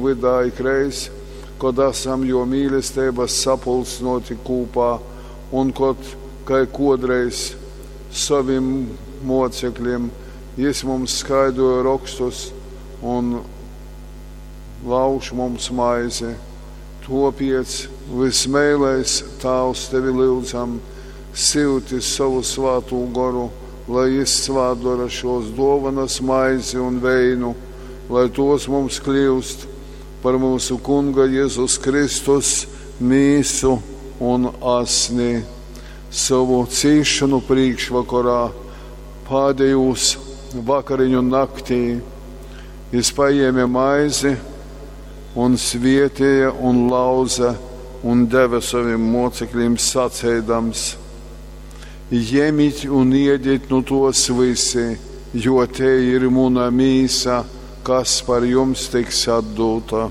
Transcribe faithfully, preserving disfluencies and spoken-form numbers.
vydā ikreiz, kod asam Juo mīlesteibys sapulcynuoti kūpā un kod, kai kuodreiz sovim muoceklim, Jis mums skaidroj Rokstus un lauž mums maizi. Tuopiec, vysmeilais Tāvs Tevi lyudzam, syuti sovu Svātū Goru, lai Jis svātdora šuos duovonys, maizi un veinu, lai tuos mums kliust par myusu Kunga Jezus Kristus mīsu un asni. Sovu cīsšonu prīškvokorā, pādejūs vakariņu naktī, Jis pajēme maizi un svietēja un lauze un deve sovim muoceklim saceidams: Jemit un iedit nu tuos vysi, jo tei ir muna mīsa, kas par jums tiks atdūta.